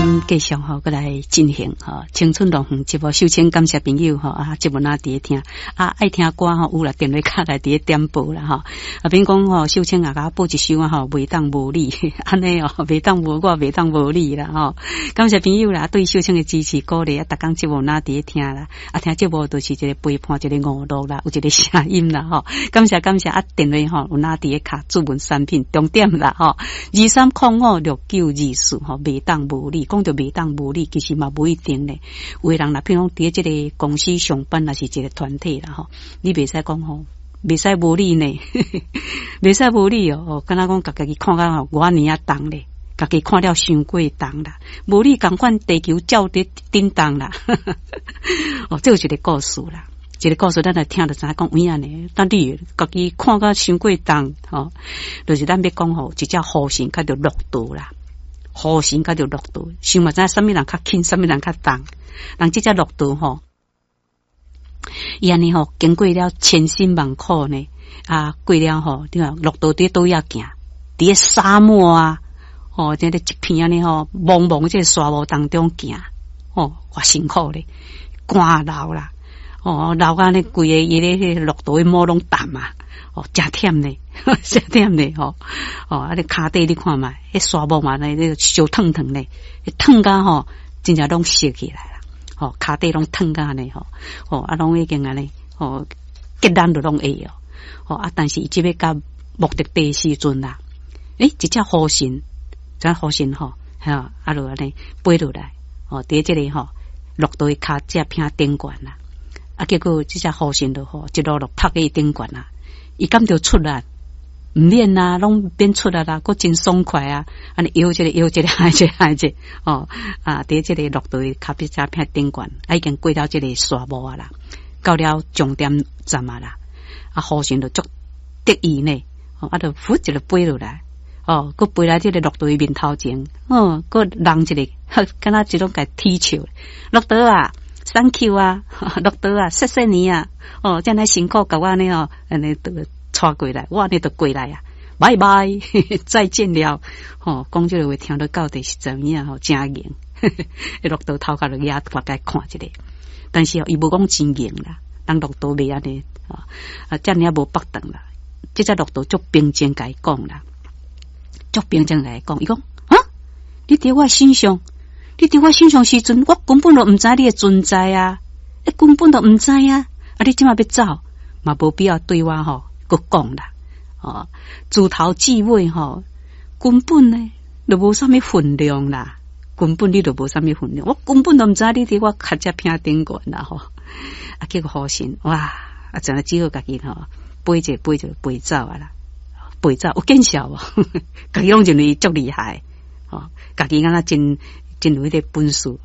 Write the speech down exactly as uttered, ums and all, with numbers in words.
咱繼續吼，閣來進行吼青春樂園節目。首先感謝朋友吼啊，節目若佇咧聽啊，愛聽歌吼，有啦，電話卡來佇咧點播啦吼。啊，免講吼，秀清啊，共我播一首啊吼，袂當無你，按呢哦，袂當無我，袂當無你啦吼。感謝朋友啦，對秀清的支持鼓勵啊，逐工節目若佇咧聽啦，啊，聽節目就是一個陪伴，一個娛樂啦，有一個聲音啦吼。感謝感謝啊，電話吼有若佇咧敲注文產品重點啦吼，二三空五六九二四吼，袂當無你，講著袂當無你，其實嘛無一定咧。有的人若譬如講佇這個公司上班，抑是一個團體啦吼，你袂使講吼，袂使無你呢，袂使無你哦，敢若講共家己看甲吼偌爾仔重咧，家己看了傷過重啦，無你仝款地球照佇振動啦。哦，這有一個故事啦，一個故事咱來聽就知影講有影呢。當你家己看甲傷過重吼，就是咱欲講吼，一隻雨神佮著駱駝啦。雨神佮著駱駝，想嘛知影啥物人較輕，啥物人較重。人這隻駱駝吼，伊按呢吼，經過了千辛萬苦呢，啊，過了吼，你看駱駝佇佗位仔行，佇咧沙漠啊，吼，這個一片按呢吼，茫茫這個沙漠當中行，吼，偌辛苦咧，乾流啦，哦，流甲呢規個伊咧彼個駱駝的毛攏澹啊，哦，誠忝咧，誠忝咧，吼，哦，啊，你跤底你看覓，彼沙漠嘛，咧燒燙燙咧，燙甲吼，真正攏燒起來啦，吼，跤底攏燙甲按呢吼，吼，啊，攏已經按呢，吼，結爛都攏會哦，吼，啊，但是伊這欲到目的地時陣啦，欸，一隻雨神，這雨神吼，哈，啊，就按呢飛落來，吼，佇這個吼，駱駝的跤這片頂懸啦，啊，結果這隻雨神就吼，一路路拍去頂懸啦，伊感著出力，毋免啊，攏免出力啦，閣真爽快啊！按呢搖一个搖一个，按一个按一个，哦啊！佇這個駱駝的跤彼這片頂懸，啊，已經過了這個沙漠啊啦，到了終點站啊啦，啊，雨神就足得意呢，哦，啊，就噗一个飛落來，哦，閣飛來這個駱駝的面頭前，哦，閣弄一个，敢若這種共踢笑，駱駝啊，Thank you 啊，駱駝啊，謝謝你啊，哦，這爾辛苦共我按呢哦，按呢就帶過來，我按呢就過來啊，拜拜，再見了，吼，講這個話聽得到底是怎樣吼，誠硬，駱駝頭殼就額大概看一下，但是哦，伊無講真硬啦，人駱駝袂按呢，啊，遮爾仔無腹腸啦，這隻駱駝足平靜共伊講啦，足平靜共伊講，伊講啊，你佇我身上，你佇我身上時陣，我根本就毋知你的存在啊，你根本就毋知啊，啊，你這馬欲走，嘛無必要對我吼閣講啦，哦，自頭至尾吼，根本呢就無啥物分量啦，根本你就無啥物分量，我根本都毋知你佇我跤這片頂懸啦吼，啊，結果雨神哇，啊，真只好家己吼飛者飛就飛走啊啦，飛走有見笑無？家己攏認為足厲害，吼，家己敢若真真有彼個本事。